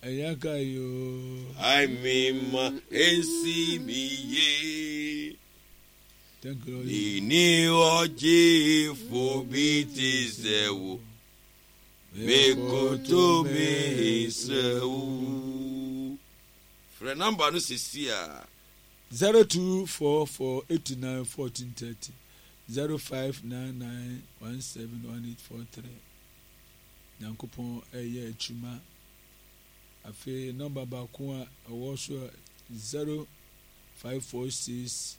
Ɛyɛ ka yoo. I mean ma ensi mi ye. Thank you Lord. Nini ɔgyefo bi te sɛ wo. Mekoto me srɛ wo. Frɛ namba no sisi a. 0244 89 14 30 0599 17 1843 Nyankopɔn ɛyɛ adwuma. Afei nɔmba baako a ɛwɔ so a 0546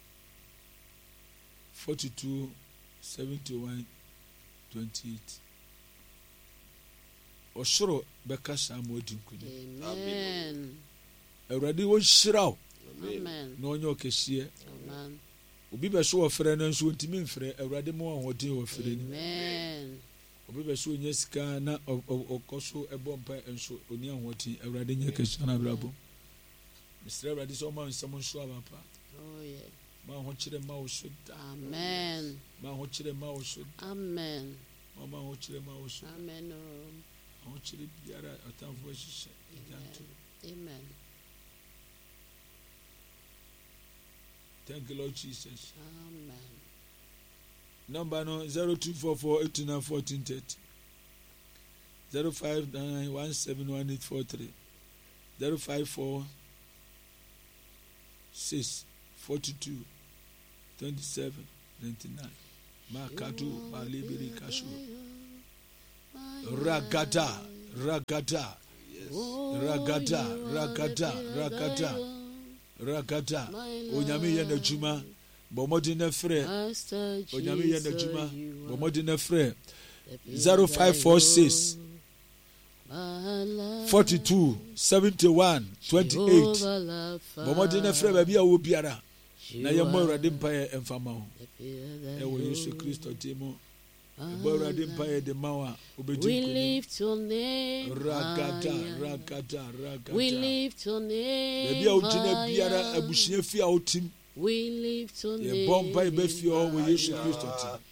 42 71 28. Ɔsoro bɛkasa ama wadi nkonim. Amen. Awurade ɔnhyira wo Amen. na ɔnyɛ ɔkɛseɛ. Amen. Obi bɛ so ɔfrɛ no nso ɔntumi mfrɛ. Awurade ma ahoɔden wɔ frɛ no. Amen. Obi bɛ so ɔnya sika na ɔkɔ so ɛbɔ mpa nso ɔni ahoɔden. Awurade nyɛ kɛseɛ na abrabɔ. Mesrɛ Awurade sɛ ɔma nsɛm nso aba pa. Oh yeah. Ma ahokyerɛ ma wo so da. Amen. Ma ahokyerɛ ma wo so da. Amen. Ma ɔma ahokyerɛ ma wo so da. Amen. Oh. Ahokyerɛ biara ɔtamfo ahyehyɛ agya nto. Amen. Thank you, Lord Jesus. Amen. Number no 0244 89 14 30 059 171843 054 6 42 27 99 Makatu Malibiri Kashu Ragada Ragada Ragada Ragada Ragada Ragada Onyame yɛ n'adwuma bɔ mmɔden na frɛ Onyame yɛ n'adwuma bɔ mmɔden na frɛ 0546 42 71 28 bɔ mmɔden na frɛ baabi a wɔ biara na yɛmmɔ Awurade mpaeɛ ɛmfa ma wo ɛwɔ Yesu Kristo din mu. Ɛbɔ Awurade mpaeɛ de ma wo a, wobɛdi We nkonim. lift your name Ragada, higher. ragada, ragada. We lift your name Baabi a wogyina biara, higher. abusua fie a wotim, We lift your yɛbɔ mpaeɛ name bɛ fie hɔ wɔ Yesu Kristo higher. ti.